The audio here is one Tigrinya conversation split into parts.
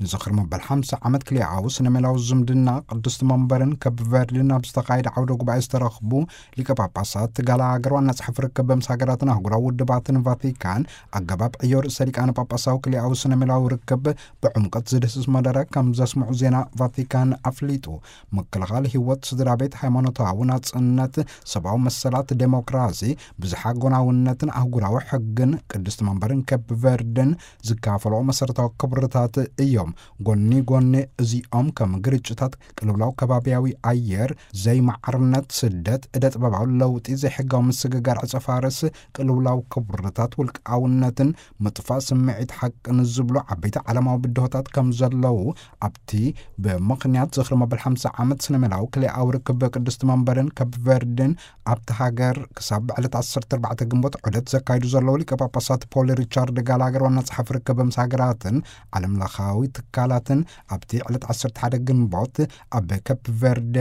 ንዝኽሪ መበል ሓምሳ ዓመት ክልኤኣዊ ስነ ሜላዊ ዝምድና ቅድስቲ መንበርን ከብ ቨርድን ኣብ ዝተኻየደ ዓውደ ጉባኤ ዝተረኽቡ ሊቀ ጳጳሳት ጋላገር ዋና ጸሓፊ ርክብ ምስ ሃገራትን ኣህጉራዊ ውድባትን ቫቲካን ኣገባብ ዕዮ ርእሰ ሊቃነ ጳጳሳዊ ክልኤኣዊ ስነ ሜላዊ ርክብ ብዕምቀት ዝድህስስ መደረ ከም ዘስምዑ ዜና ቫቲካን ኣፍሊጡ። ምክልኻል ህይወት፣ ስድራ ቤት፣ ሃይማኖታዊ ናጽነት፣ ሰብኣዊ መሰላት፣ ዴሞክራሲ፣ ብዝሓ ጎናውነትን ኣህጉራዊ ሕግን ቅድስቲ መንበርን ከብ ቨርድን ዝካፈሎ መሰረታዊ ክብርታት እዮም። ጎኒ ጎኒ እዚኦም ከም ግርጭታት፣ ቅልውላው ከባቢያዊ ኣየር፣ ዘይማዕርነት፣ ስደት፣ እደ ጥበባዊ ለውጢ፣ ዘይሕጋዊ ምስግጋር ዕጸ ፋርስ፣ ቅልውላው ክብርታት ውልቃውነትን ምጥፋእ ስምዒት ሓቅን ዝብሉ ዓበይቲ ዓለማዊ ብድሆታት ከም ዘለዉ ኣብቲ ብምኽንያት ዝኽሪ መበል ሓምሳ ዓመት ስነ ሜላዊ ክልኤኣዊ ርክብ ቅድስቲ መንበርን ከብ ቨርድን ኣብቲ ሃገር ክሳብ ዕለት ዓሰርተ ኣርባዕተ ግንቦት ዑደት ዘካይዱ ዘለዉ ሊቀ ጳጳሳት ፖል ሪቻርድ ጋላገር ዋና ጸሓፊ ርክብ ምስ ሃገራትን ዓለም ለኻዊ ትካላትን ኣብቲ ዕለት ዓሰርተ ሓደ ግንቦት ኣብ ከፕ ቨርደ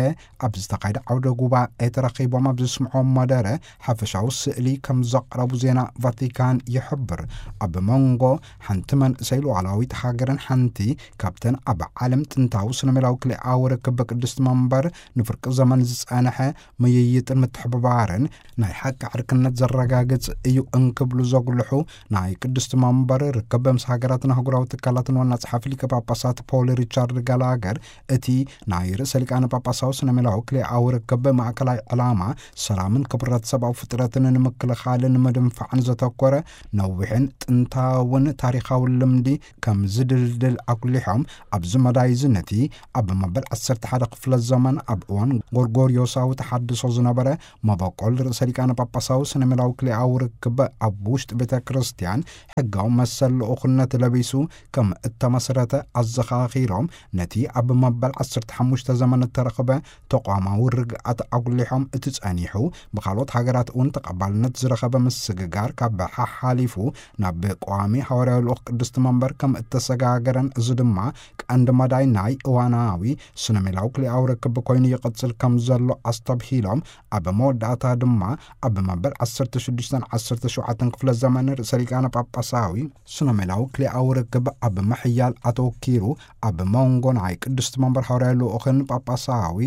ኣብ ዝተኻየደ ዓውደ ጉባኤ ተረኺቦም ኣብ ዘስምዖም መደረ ሓፈሻዊ ስእሊ ከም ዘቕረቡ ዜና ቫቲካን ይሕብር። ኣብ መንጎ ሓንቲ መንእሰይ ሉዓላዊት ሃገርን ሓንቲ ካብተን ኣብ ዓለም ጥንታዊ ስነ ሜላዊ ክልኤኣዊ ርክብ ቅድስቲ መንበር ንፍርቂ ዘመን ዝጸንሐ ምይይጥን ምትሕብባርን ናይ ሓቂ ዕርክነት ዘረጋግጽ እዩ እንክብሉ ዘጉልሑ ናይ ቅድስቲ መንበር ርክብ ምስ ሃገራትን ኣህጉራዊ ትካላትን ዋና ጸሓፊ ሊቀ ጳጳሳት ፖል ሪቻርድ ጋላገር፣ እቲ ናይ ርእሰ ሊቃነ ጳጳሳዊ ስነ ሜላዊ ክልኤኣዊ ርክብ ማእከላይ ዕላማ ሰላምን ክብረት ሰብኣዊ ፍጥረትን ንምክልኻልን ምድንፋዕን ዘተኮረ ነዊሕን ጥንታውን ታሪኻውን ልምዲ ከም ዝድልድል ኣጉሊሖም፣ ኣብዚ መዳይ እዚ ነቲ ኣብ መበል ዓሰርተ ሓደ ክፍለ ዘመን ኣብ እዋን ጎርጎርዮሳዊ ተሓድሶ ዝነበረ መበቆል ርእሰ ሊቃነ ጳጳሳዊ ስነ ሜላዊ ክልኤኣዊ ርክብ ኣብ ውሽጢ ቤተ ክርስቲያን ሕጋዊ መሰል ልኡኽነት ለቢሱ ከም እተመስረተ ኣዘኻኺሮም፣ ነቲ ኣብ መበል ዓሰርተ ሓሙሽተ ዘመን እተረኽበ ተቋማዊ ርግኣት ኣጉሊሖም፣ እቲ ጸኒሑ ብኻልኦት ሃገራት እውን ተቐባልነት ዝረኸበ ምስግጋር ካብ ሓሓሊፉ ናብ ቀዋሚ ሃዋርያዊ ልኡኽ ቅድስቲ መንበር ከም እተሰጋገረን፣ እዚ ድማ ቀንዲ መዳይ ናይ እዋናዊ ስነ ሜላዊ ክልኤኣዊ ርክብ ኮይኑ ይቕጽል ከም ዘሎ ኣስተብሂሎም፣ ኣብ መወዳእታ ድማ ኣብ መበል ዓሰርተ ሽዱሽተን ዓሰርተ ሸውዓተን ክፍለ ዘመን ርእሰ ሊቃነ ጳጳሳዊ ስነ ሜላዊ ክልኤኣዊ ርክብ ኣብ ምሕያል ኣተወኪሩ፣ ኣብ መንጎ ናይ ቅድስቲ መንበር ሃዋርያዊ ልኡኽን ጳጳሳዊ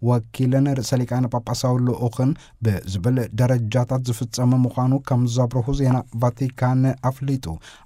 ወኪልን ርእሰ ሊቃነ ጳጳሳዊ ልኡኽን ብዝብል ደረጃታት ዝፍጸም ምዃኑ ከም ዘብርሁ ዜና ቫቲካን ኣፍሊጡ።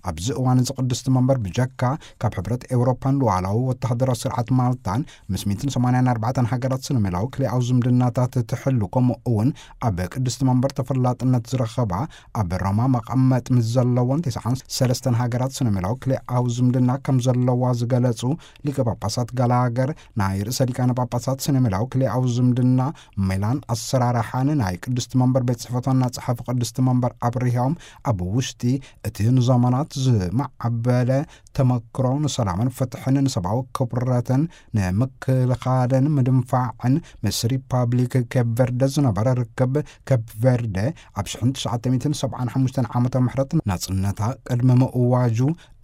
ኣብዚ እዋን እዚ ቅድስቲ መንበር ብጀካ ካብ ሕብረት ኤውሮፓን ሉዓላዊ ወተሃደራዊ ስርዓት ማልታን ምስ ሚእትን ሰማንያን ኣርባዕተን ሃገራት ስነ ሜላዊ ክልኤኣዊ ዝምድናታት ትሕሉ፣ ከምኡ እውን ኣብ ቅድስቲ መንበር ተፈላጥነት ዝረኸባ ኣብ ሮማ መቐመጥ ምስ ዘለዎን ተስዓን ሰለስተን ሃገራት ስነ ሜላዊ ክልኤኣዊ ዝምድና ከም ዘለዋ ዝገለጹ ሊቀ ጳጳሳት ጋላገር፣ ናይ ርእሰ ሊቃነ ጳጳሳት ስነ ሜላዊ ክልኤኣዊ ዝምድና ሜላን ኣሰራርሓን ናይ ቅድስቲ መንበር ቤት ጽሕፈት ዋና ጸሓፊ ቅድስቲ መንበር ኣብሪሆም፣ ኣብ ውሽጢ እቲ ንዘመናት ዝማዕበለ ተመክሮ ንሰላምን ፍትሕን ንሰብኣዊ ክብረትን ንምክልኻልን ምድንፋዕን ምስ ሪፓብሊክ ኬፕ ቨርደ ዝነበረ ርክብ፣ ኬፕ ቨርደ ኣብ ሽሕን ትሽዓተ ሚእትን ሰብዓን ሓሙሽተን ዓመተ ምሕረት ናጽነታ ቅድሚ ምእዋጁ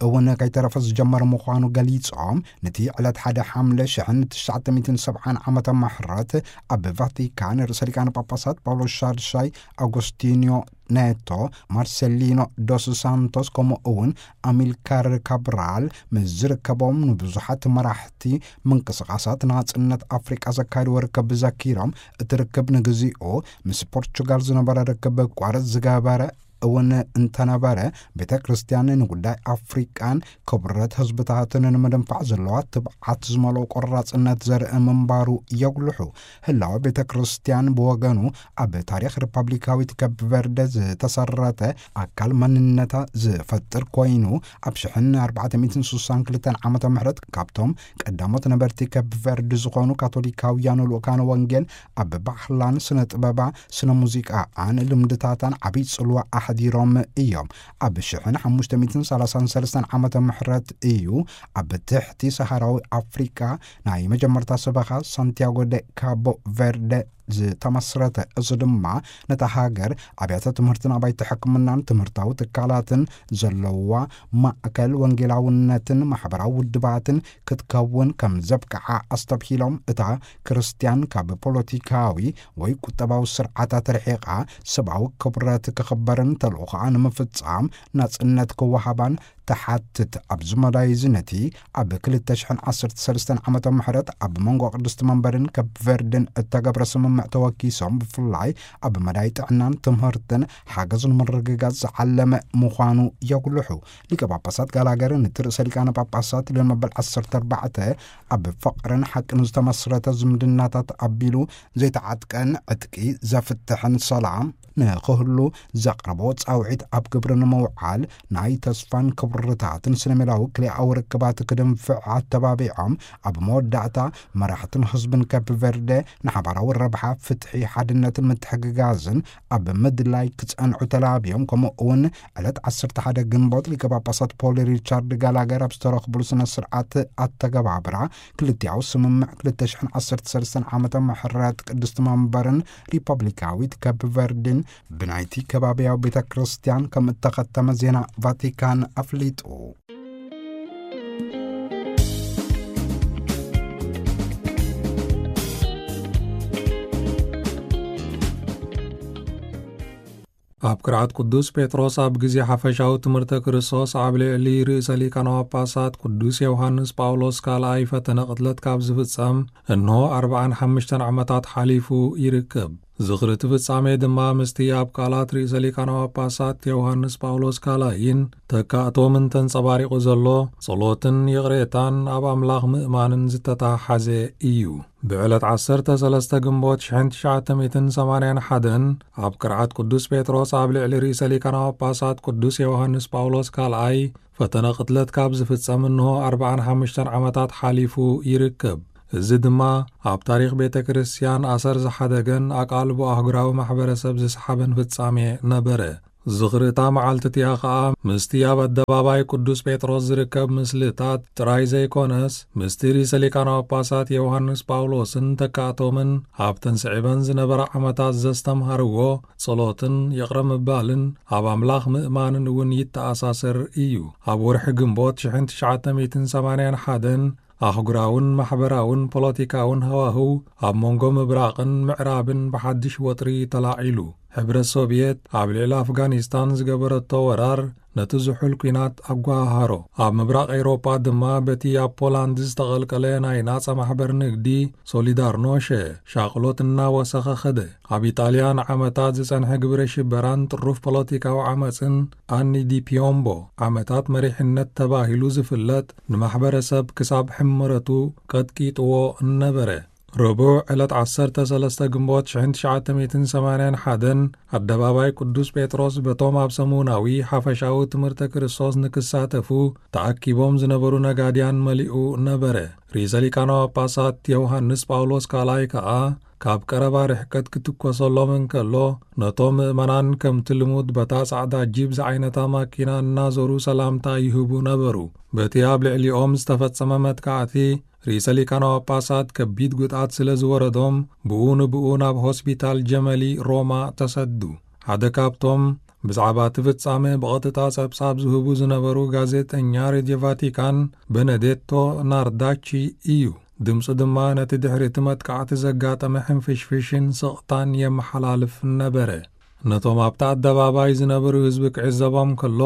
እውን ከይተረፈ ዝጀመረ ምዃኑ ገሊጾም፣ ነቲ ዕለት ሓደ ሓምለ ሽሕን ትሽዓተ ሚእትን ሰብዓን ዓመተ ምሕረት ኣብ ቫቲካን ርእሰ ሊቃነ ጳጳሳት ጳውሎስ ሻድሻይ ኣጎስቲንዮ ኔቶ፣ ማርሴሊኖ ዶስ ሳንቶስ፣ ከምኡ እውን ኣሚልካር ካብራል ምስ ዝርከቦም ንብዙሓት መራሕቲ ምንቅስቓሳት ናጽነት ኣፍሪቃ ዘካየድዎ ርክብ ዘኪሮም፣ እቲ ርክብ ንግዚኡ ምስ ፖርቹጋል ዝነበረ ርክብ ቋረጽ ዝገበረ እውን እንተነበረ፣ ቤተ ክርስቲያን ንጉዳይ ኣፍሪቃን ክብረት ህዝብታትን ንምድንፋዕ ዘለዋ ትብዓት ዝመልኦ ቆራጽነት ዘርኢ ምንባሩ የጉልሑ። ህላወ ቤተ ክርስቲያን ብወገኑ ኣብ ታሪኽ ሪፐብሊካዊት ኬፕ ቨርደ ዝተሰረተ ኣካል መንነታ ዝፈጥር ኮይኑ፣ ኣብ ሽሕን ኣርባዕተ ሚእትን ስሳን ክልተን ዓመተ ምህረት ካብቶም ቀዳሞት ነበርቲ ኬፕ ቨርድ ዝኾኑ ካቶሊካውያን ልኡካነ ወንጌል ኣብ ባህላን ስነ ጥበባ፣ ስነ ሙዚቃኣን ልምድታታን ዓብይ ጽልዋ ኣሕዲሮም እዮም። ኣብ ሽሕን ሓሙሽተ ሚእትን ሰላሳን ሰለስተን ዓመተ ምህረት እዩ ኣብ ትሕቲ ሰሃራዊ ኣፍሪቃ ናይ መጀመርታ ሰበኻ ሳንቲያጎ ደ ካቦ ቨርደ ዝተመስረተ። እዚ ድማ ነታ ሃገር ኣብያተ ትምህርትን ኣባይቲ ሕክምናን ትምህርታዊ ትካላትን ዘለዋ ማእከል ወንጌላውነትን ማሕበራዊ ውድባትን ክትከውን ከም ዘብቅዓ ኣስተብሂሎም፣ እታ ክርስትያን ካብ ፖለቲካዊ ወይ ቁጠባዊ ስርዓታት ርሒቓ ሰብኣዊ ክብረት ክኽበርን ተልእኾኣ ንምፍጻም ናጽነት ክወሃባን ትሓትት። ኣብዚ መዳይ እዚ ነቲ ኣብ ክልተ ሽሕን ዓሰርተ ሰለስተን ዓመተ ምሕረት ኣብ መንጎ ቅድስቲ መንበርን ከፕ ቨርድን እተገብረ ስምምዕ ተወኪሶም፣ ብፍላይ ኣብ መዳይ ጥዕናን ትምህርትን ሓገዝ ንምርግጋጽ ዝዓለመ ምዃኑ የጉልሑ። ሊቀ ጳጳሳት ጋላገር ነቲ ርእሰ ሊቃነ ጳጳሳት ሊዮን መበል ዓሰርተ ኣርባዕተ ኣብ ፍቕርን ሓቅን ዝተመስረተ ዝምድናታት ኣቢሉ ዘይተዓጥቀን ዕጥቂ ዘፍትሕን ሰላም ንክህሉ ዘቕረቦ ጻውዒት ኣብ ግብሪ ንምውዓል ናይ ተስፋን ክብርታትን ስነ-ሜላዊ ክልኤኣዊ ርክባት ክድንፍዕ ኣተባቢዖም፣ ኣብ መወዳእታ መራሕትን ህዝብን ከፕ ቨርደ ንሓባራዊ ረብሓ፣ ፍትሒ፣ ሓድነትን ምትሕግጋዝን ኣብ ምድላይ ክጸንዑ ተላብዮም። ከምኡ እውን ዕለት ዓሰርተ ሓደ ግንቦት ሊቀ ጳጳሳት ፖል ሪቻርድ ጋላገር ኣብ ዝተረኽቡሉ ስነ ስርዓት ኣተገባብራ ክልቲኣዊ ስምምዕ ክልተ ሽሕን ዓሰርተ ሰለስተን ዓመተ ምሕረት ቅድስቲ መንበርን ሪፐብሊካዊት ከፕ ቨርድን ብናይቲ ከባቢያዊ ቤተ ክርስቲያን ከም እተኸተመ ዜና ቫቲካን ኣፍሊጡ። ኣብ ቅርዓት ቅዱስ ጴጥሮስ ኣብ ግዜ ሓፈሻዊ ትምህርተ ክርስቶስ ኣብ ልዕሊ ርእሰ ሊቃነ ጳጳሳት ቅዱስ ዮሃንስ ጳውሎስ ካልኣይ ፈተነ ቅትለት ካብ ዝፍጸም እንሆ ኣርብዓን ሓሙሽተን ዓመታት ሓሊፉ ይርከብ። ዝኽሪ እቲ ፍጻሜ ድማ ምስቲ ኣብ ቃላት ርእሰ ሊቃነ ጳጳሳት ዮሃንስ ጳውሎስ ካልኣይን ተካእቶምን ተንጸባሪቑ ዘሎ ጸሎትን ይቕሬታን ኣብ ኣምላኽ ምእማንን ዝተተሓሓዘ እዩ። ብዕለት ዓሰርተ ሰለስተ ግንቦት ሽሕን ትሽዓተ ሚእትን ሰማንያን ሓደን ኣብ ቅርዓት ቅዱስ ጴጥሮስ ኣብ ልዕሊ ርእሰ ሊቃነ ጳጳሳት ቅዱስ ዮሃንስ ጳውሎስ ካልኣይ ፈተነ ቅትለት ካብ ዝፍጸም እንሆ ኣርብዓን ሓሙሽተን ዓመታት ሓሊፉ ይርከብ። እዚ ድማ ኣብ ታሪኽ ቤተ ክርስቲያን ኣሰር ዝሓደገን ኣቓልቦ ኣህጉራዊ ማሕበረሰብ ዝሰሓበን ፍጻሜ ነበረ። ዝኽሪ እታ መዓልቲ እቲኣ ኸኣ ምስቲ ኣብ ኣደባባይ ቅዱስ ጴጥሮስ ዝርከብ ምስልታት ጥራይ ዘይኮነስ፣ ምስቲ ርእሰ ሊቃነ ጳጳሳት ዮሃንስ ጳውሎስን ተካእቶምን ኣብተን ስዒበን ዝነበራ ዓመታት ዘስተምሃርዎ ጸሎትን ይቕረ ምባልን ኣብ ኣምላኽ ምእማንን እውን ይተኣሳሰር እዩ። ኣብ ወርሒ ግንቦት ሽሕን ትሽዓተ ሚእትን ሰማንያን ሓደን ኣህጉራውን ማሕበራውን ፖለቲካውን ሃዋህው ኣብ መንጎ ምብራቕን ምዕራብን ብሓድሽ ወጥሪ ተላዒሉ። ሕብረት ሶቭየት ኣብ ልዕሊ ኣፍጋኒስታን ዝገበረቶ ወራር ነቲ ዝሑል ኲናት ኣጓሃሃሮ። ኣብ ምብራቕ ኤውሮጳ ድማ በቲ ኣብ ፖላንድ ዝተቐልቀለ ናይ ናጻ ማሕበር ንግዲ ሶሊዳርኖሸ ሻቕሎት እናወሰኸ ኸደ። ኣብ ኢጣልያ ንዓመታት ዝጸንሐ ግብረ ሽበራን ጥሩፍ ፖለቲካዊ ዓመጽን ኣኒ ዲ ፒዮምቦ ዓመታት መሪሕነት ተባሂሉ ዝፍለጥ ንማሕበረሰብ ክሳብ ሕመረቱ ቀጥቂጥዎ ነበረ። ረቡዕ ዕለት ዓሰርተ ሰለስተ ግንቦት ሽሕን ትሽዓተ ሚእትን ሰማንያን ሓደን ኣደባባይ ቅዱስ ጴጥሮስ በቶም ኣብ ሰሙናዊ ሓፈሻዊ ትምህርተ ክርስቶስ ንክሳተፉ ተኣኪቦም ዝነበሩ ነጋድያን መሊኡ ነበረ። ርእሰ ሊቃነ ጳጳሳት ዮሃንስ ጳውሎስ ካልኣይ ከኣ ካብ ቀረባ ርሕቀት ክትኮሰሎም እንከሎ፣ ነቶም ምእመናን ከምቲ ልሙድ በታ ጻዕዳ ጂፕ ዝዓይነታ ማኪና እናዞሩ ሰላምታ ይህቡ ነበሩ። በቲ ኣብ ልዕሊኦም ዝተፈጸመ መጥቃዕቲ፣ ርእሰ ሊቃነ ጳጳሳት ከቢድ ጉድኣት ስለ ዝወረዶም፣ ብኡ ንብኡ ናብ ሆስፒታል ጀመሊ ሮማ ተሰዱ። ሓደ ካብቶም ብዛዕባ እቲ ፍጻሜ ብቐጥታ ጸብጻብ ዝህቡ ዝነበሩ ጋዜጠኛ ሬድዮ ቫቲካን በነዴቶ ናርዳቺ እዩ። ድምጹ ድማ ነቲ ድሕሪ እቲ መጥቃዕቲ ዘጋጠመ ሕንፍሽፍሽን ስቕታን የመሓላልፍ ነበረ። ነቶም ኣብቲ ኣደባባይ ዝነበሩ ህዝቢ ክዕዘቦም ከሎ፣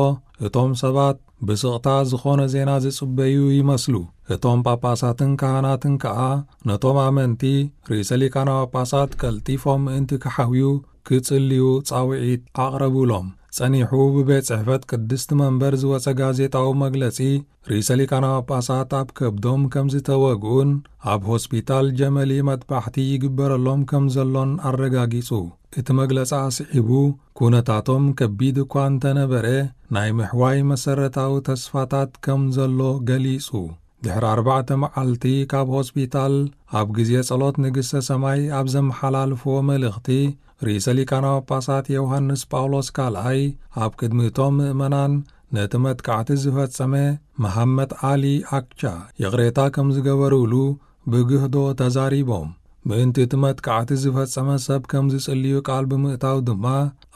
እቶም ሰባት ብስቕታ ዝኾነ ዜና ዝጽበዩ ይመስሉ። እቶም ጳጳሳትን ካህናትን ከኣ ነቶም ኣመንቲ ርእሰ ሊቃነ ጳጳሳት ቀልጢፎም ምእንቲ ክሓውዩ ክጽልዩ ጻውዒት ኣቕረቡሎም። ጸኒሑ ብቤት ጽሕፈት ቅድስቲ መንበር ዝወጸ ጋዜጣዊ መግለጺ፣ ርእሰ ሊቃነ ጳጳሳት ኣብ ከብዶም ከም ዝተወግኡን ኣብ ሆስፒታል ጀመሊ መጥባሕቲ ይግበረሎም ከም ዘሎን ኣረጋጊጹ። እቲ መግለጺ ኣስዒቡ፣ ኩነታቶም ከቢድ እኳ እንተነበረ፣ ናይ ምሕዋይ መሰረታዊ ተስፋታት ከም ዘሎ ገሊጹ። ድሕሪ ኣርባዕተ መዓልቲ ካብ ሆስፒታል፣ ኣብ ግዜ ጸሎት ንግስተ ሰማይ ኣብ ዘመሓላልፍዎ መልእኽቲ፣ ርእሰ ሊቃነ ጳጳሳት ዮሃንስ ጳውሎስ ካልኣይ ኣብ ቅድሚ እቶም ምእመናን ነቲ መጥቃዕቲ ዝፈጸመ መሃመት ኣሊ ኣክቻ ይቕሬታ ከም ዝገበሩሉ ብግህዶ ተዛሪቦም። ምእንቲ እቲ መጥቃዕቲ ዝፈጸመ ሰብ ከም ዝጽልዩ ቃል ብምእታው ድማ፣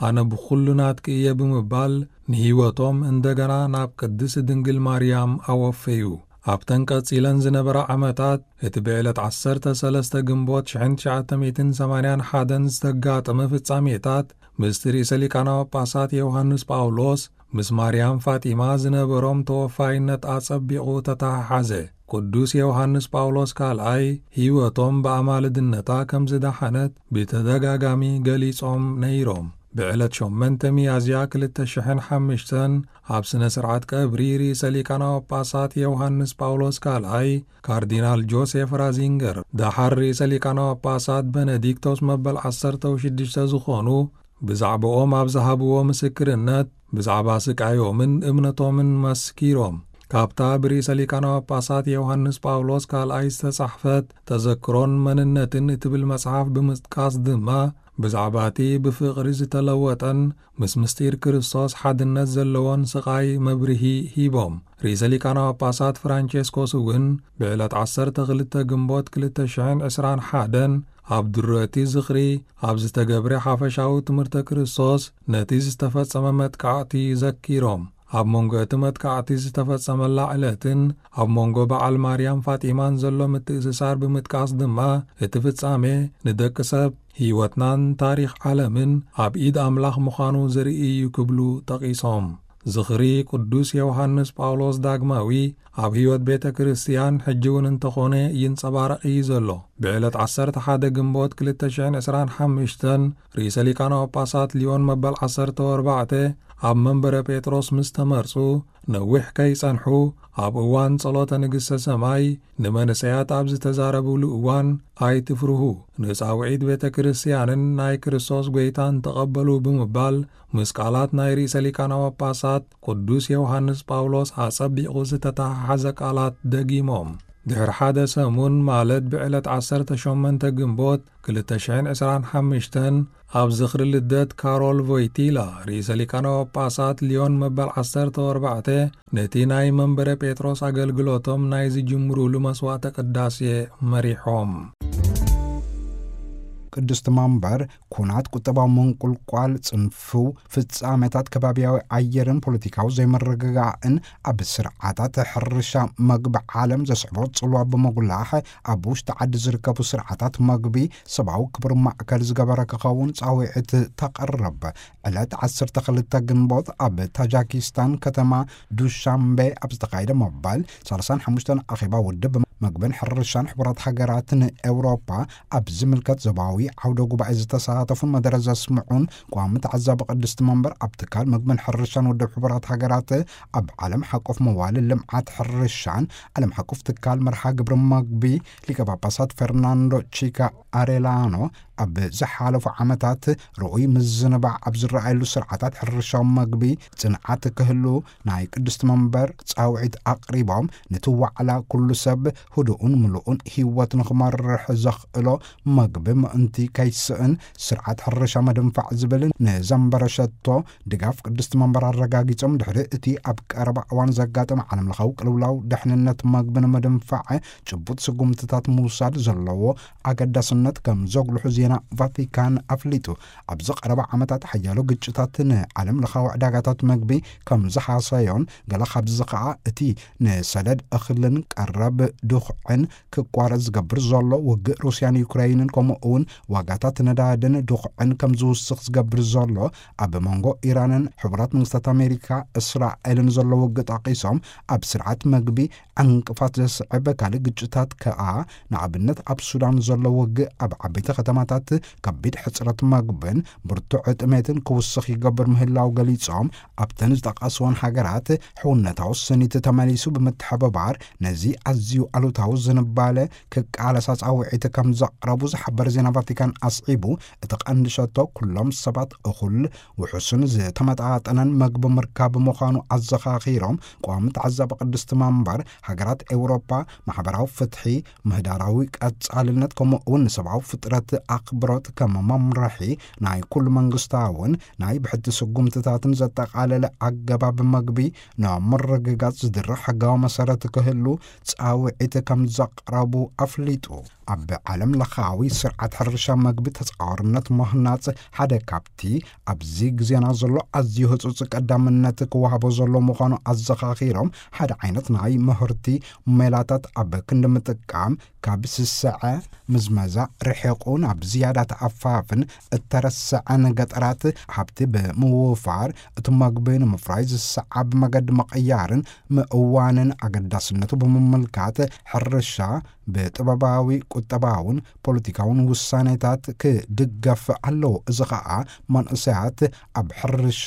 ኣነ ብኹሉ ናትኪ እየ ብምባል ንህይወቶም እንደገና ናብ ቅድስቲ ድንግል ማርያም ኣወፈዩ። ኣብተን ቀጺለን ዝነበራ ዓመታት፣ እቲ ብዕለት ዓሰርተ ሰለስተ ግንቦት ሽሕን ትሽዓተ ሚእትን ሰማንያን ሓደን ዝተጋጠመ ፍጻሜታት፣ ምስቲ ርእሰ ሊቃነ ጳጳሳት ዮሃንስ ጳውሎስ ምስ ማርያም ፋጢማ ዝነበሮም ተወፋይነት ኣጸቢቑ ተተሓሓዘ። ቅዱስ ዮሃንስ ጳውሎስ ካልኣይ ህይወቶም ብኣማልድነታ ከም ዝደሓነት ብተደጋጋሚ ገሊጾም ነይሮም። ብዕለት ሸሞንተ ሚያዝያ ክልተ ሽሕን ሓሙሽተን ኣብ ስነ ስርዓት ቀብሪ ርእሰ ሊቃነ ጳጳሳት ዮሃንስ ጳውሎስ ካልኣይ ካርዲናል ጆሴፍ ራዚንገር፣ ደሓር ርእሰ ሊቃነ ጳጳሳት በነዲክቶስ መበል ዓሰርተ ሽዱሽተ ዝኾኑ፣ ብዛዕባኦም ኣብ ዝሃብዎ ምስክርነት፣ ብዛዕባ ስቃዮምን እምነቶምን መስኪሮም። ካብታ ብርእሰ ሊቃነ ጳጳሳት ዮሃንስ ጳውሎስ ካልኣይ ዝተጻሕፈት ተዘክሮን መንነትን እትብል መጽሓፍ ብምጥቃስ ድማ፣ ብዛዕባ እቲ ብፍቕሪ ዝተለወጠን ምስ ምስጢር ክርስቶስ ሓድነት ዘለዎን ስቓይ መብርሂ ሂቦም። ርእሰ ሊቃነ ጳጳሳት ፍራንቸስኮስ እውን ብዕለት ዓሰርተ ክልተ ግንቦት ክልተ ሽሕን ዕስራን ሓደን ኣብ ድሮ እቲ ዝኽሪ ኣብ ዝተገብረ ሓፈሻዊ ትምህርተ ክርስቶስ ነቲ ዝተፈጸመ መጥቃዕቲ ዘኪሮም። ኣብ መንጎ እቲ መጥቃዕቲ ዝተፈጸመላ ዕለትን ኣብ መንጎ በዓል ማርያም ፋጢማን ዘሎ ምትእስሳር ብምጥቃስ ድማ፣ እቲ ፍጻሜ ንደቂ ሰብ፣ ህይወትናን ታሪኽ ዓለምን ኣብ ኢድ ኣምላኽ ምዃኑ ዘርኢ እዩ ክብሉ ጠቒሶም። ዝኽሪ ቅዱስ ዮሃንስ ጳውሎስ ዳግማዊ ኣብ ህይወት ቤተ ክርስቲያን ሕጂ እውን እንተኾነ ይንጸባረቕ እዩ ዘሎ። ብዕለት ዓሰርተ ሓደ ግንቦት ክልተ ሽሕን ዕስራን ሓሙሽተን ርእሰ ሊቃነ ጳጳሳት ሊዮን መበል ዓሰርተ ኣርባዕተ ኣብ መንበረ ጴጥሮስ ምስ ተመርጹ፣ ነዊሕ ከይጸንሑ፣ ኣብ እዋን ጸሎተ ንግሥተ ሰማይ ንመንእሰያት ኣብ ዝተዛረብሉ እዋን፣ "ኣይትፍርሁ፣ ንጻውዒት ቤተ ክርስቲያንን ናይ ክርስቶስ ጐይታን ተቐበሉ" ብምባል፣ ምስ ቃላት ናይ ርእሰ ሊቃነ ጳጳሳት ቅዱስ ዮሃንስ ጳውሎስ ኣጸቢቑ ዝተተሓሓዘ ቃላት ደጊሞም። ድሕሪ ሓደ ሰሙን፣ ማለት ብዕለት ዓሰርተ ሸሞንተ ግንቦት ክልተ ሽሕን ዕስራን ሓሙሽተን፣ ኣብ ዝኽሪ ልደት ካሮል ቮይቲላ፣ ርእሰ ሊቃነ ጳጳሳት ሊዮን መበል ዓሰርተ ኣርባዕተ፣ ነቲ ናይ መንበረ ጴጥሮስ ኣገልግሎቶም ናይ ዝጅምሩሉ መስዋዕተ ቅዳሴ መሪሖም። ቅድስቲ መንበር፣ ኩናት፣ ቁጠባዊ ምንቁልቋል፣ ጽንፍው ፍጻሜታት፣ ከባብያዊ ኣየርን ፖለቲካዊ ዘይምርግጋእን ኣብ ስርዓታት ሕርሻ፣ መግቢ ዓለም ዘስዕቦ ጽልዋ ብምጉላሕ፣ ኣብ ውሽጢ ዓዲ ዝርከቡ ስርዓታት መግቢ ሰብኣዊ ክብሪ ማእከል ዝገበረ ክኸውን ጻውዒት ተቕርብ። ዕለት ዓሰርተ ክልተ ግንቦት ኣብ ታጃኪስታን ከተማ ዱሻምቤ ኣብ ዝተኻየደ መባል ሰላሳን ሓሙሽተን ኣኼባ ውድብ መግብን ሕርሻን ሕቡራት ሃገራት ንኤውሮፓ ኣብ ዝምልከት ዞባዊ ዓውደ ጉባኤ ዝተሳተፉን መደረ ዘስምዑን ቋሚ ተዓዛቢ ቅድስቲ መንበር፣ ኣብ ትካል መግብን ሕርሻን ውድብ ሕቡራት ሃገራት ኣብ ዓለም ሓቆፍ መዋሊ ልምዓት ሕርሻን ዓለም ሓቆፍ ትካል መርሃ ግብሪ መግቢ ሊቀ ጳጳሳት ፈርናንዶ ቺካ ኣሬላኖ፣ ኣብ ዝሓለፉ ዓመታት ርኡይ ምዝንባዕ ኣብ ዝረኣየሉ ስርዓታት ሕርሻዊ መግቢ ጽንዓት ክህሉ ናይ ቅድስቲ መንበር ጻውዒት ኣቕሪቦም፣ ነቲ ዋዕላ ኩሉ ሰብ ህዱእን ምሉእን ህይወት ንኽመርሕ ዘኽእሎ መግቢ ምእንቲ ከይስእን ስርዓት ሕርሻ ምድንፋዕ ዝብል ንዘንበረ ሸቶ ድጋፍ ቅድስቲ መንበር ኣረጋጊጾም፣ ድሕሪ እቲ ኣብ ቀረባ እዋን ዘጋጠመ ዓለምለኻዊ ቅልውላው ድሕንነት መግቢ ንምድንፋዕ ጭቡጥ ስጉምትታት ምውሳድ ዘለዎ ኣገዳስነት ከም ዘጉልሑ ዜና ቫቲካን ኣፍሊጡ። ኣብዚ ቀረባ ዓመታት ሓያሎ ግጭታት ንዓለምለኻዊ ዕዳጋታት መግቢ ከም ዝሃሰዮን፣ ገለ ካብዚ ኸኣ እቲ ንሰደድ እኽልን ቀረብ ድኹዕን ክቋረጽ ዝገብር ዘሎ ውግእ ሩስያን ዩክረይንን፣ ከምኡ እውን ዋጋታት ነዳድን ድኹዕን ከም ዝውስኽ ዝገብር ዘሎ ኣብ መንጎ ኢራንን ሕቡራት መንግስታት ኣሜሪካ እስራኤልን ዘሎ ውግእ ጠቒሶም፣ ኣብ ስርዓት መግቢ ዕንቅፋት ዘስዕብ ካልእ ግጭታት ከኣ፣ ንኣብነት ኣብ ሱዳን ዘሎ ውግእ ኣብ ዓበይቲ ከተማታት ከቢድ ሕጽረት መግብን ብርቱዕ ጥሜትን ክውስኽ ይገብር ምህላው ገሊጾም፣ ኣብተን ዝጠቐስወን ሃገራት ሕውነታዊ ስኒት ተመሊሱ ብምትሕብባር ነዚ ኣዝዩ ኣሉታዊ ዝንባለ ክቃለሳ ጻውዒት ከም ዘቕረቡ ዝሓበር ዜና ቫቲካን ኣስዒቡ፣ እቲ ቀንዲ ሸቶ ኩሎም ሰባት እኹል፣ ውሑስን ዝተመጣጠነን መግቢ ምርካብ ምዃኑ ኣዘኻኺሮም፣ ቋሚ ተዓዛቢ ቅድስቲ መንበር፣ ሃገራት ኤውሮጳ ማሕበራዊ ፍትሒ፣ ምህዳራዊ ቀጻልነት፣ ከምኡ እውን ንሰብኣዊ ፍጥረት ኣኽብሮት ከም መምርሒ ናይ ኩሉ መንግስታውን ናይ ብሕቲ ስጉምትታትን ዘጠቓለለ ኣገባብ መግቢ ንምርግጋጽ ዝድርኽ ሕጋዊ መሰረት ክህሉ ጻውዒት ከም ዘቕረቡ ኣፍሊጡ። ኣብ ዓለም ለኻዊ ስርዓት ሕርሻ መግቢ ተጻዋርነት ምህናጽ ሓደ ካብቲ ኣብዚ ግዜና ዘሎ ኣዝዩ ህጹጽ ቀዳምነት ክወሃቦ ዘሎ ምዃኑ ኣዘኻኺሮም፣ ሓደ ዓይነት ናይ ምህርቲ ሜላታት ኣብ ክንዲ ምጥቃም፣ ካብ ስስዐ ምዝመዛ ርሒቑ ናብ ዝያዳ ተኣፋፍን እተረስዐን ገጠራት ሃብቲ ብምውፋር፣ እቲ መግቢ ንምፍራይ ዝሰዓብ መገዲ ምቕያርን ምእዋንን ኣገዳስነቱ ብምምልካት፣ ሕርሻ ብጥበባዊ፣ ቁጠባውን ፖለቲካውን ውሳኔታት ክድገፍ ኣለዎ። እዚ ኸኣ መንእሰያት ኣብ ሕርሻ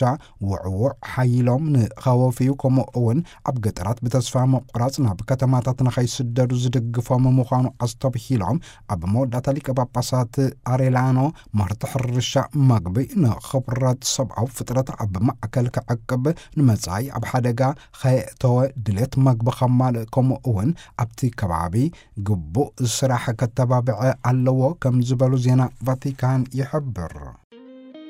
ውዕዉዕ ሓይሎም ንኸወፍዩ፣ ከምኡ እውን ኣብ ገጠራት ብተስፋ ምቑራጽ ናብ ከተማታት ንኸይስደዱ ዝድግፎም ምዃኑ ኣስተብሂሎም፣ ኣብ መወዳእታ ሊቀ ጳጳሳት ኣሬላኖ፣ ምህርቲ ሕርሻ መግቢ ንኽብረት ሰብኣዊ ፍጥረት ኣብ ማእከል ክዕቅብ፣ ንመጻኢ ኣብ ሓደጋ ኸየእተወ ድሌት መግቢ ኸማልእ፣ ከምኡ እውን ኣብቲ ከባቢ ግቡእ ስራሕ ከተባብዐ ኣለዎ ከም ዝበሉ ዜና ቫቲካን ይሕብር።